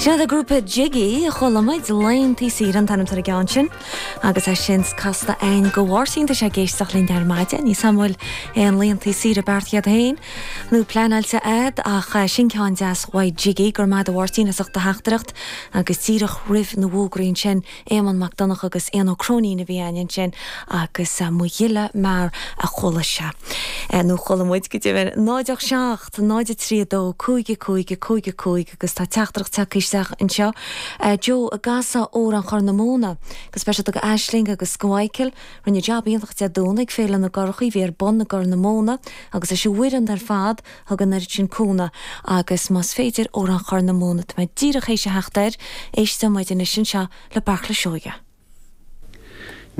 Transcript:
Sin iad an grúpa Jiggy, chuala muid Laethantaí Saoire an t-ainm atá ar an gceann sin agus é sin casta a'inn go Mháirtín tá sé ag éisteacht linn ar maidin. Níl 's a'm an bhfuil aon laethantaí saoire beartaithe a'd féin nó pleanáilte a'd ach sin ceann deas uaidh Jiggy. Go raibh maith a'd a Mháirtín as ucht do theachtaireacht agus díreach roimh na bhfógraí ansin Éamonn Mac Donncha agus Éanna Ó Cróinín a bhí a'inn ansin agus Mo Ghile Mear a chuala sé. Nó chuala muid go deimhin. 0 8 7 0 3 2 5 5 5 5 agus tá teachtaireacht tagtha isteach anseo. Joe an gcasfá Amhrán Chorr na Móna go speisialta go Aisling agus go Mhichael. Rinne jab iontach Dé Domhnaigh ag Féile na gCurachaí a bhí ar bun i gCorr na Móna agus leis an bhfoireann ar fad thug an oiread sin cúnamh agus más féidir Amhrán Chorr na Móna tá mé díreach théis a theacht air, éisteoidh muid anois anseo le Beartla Seoighe.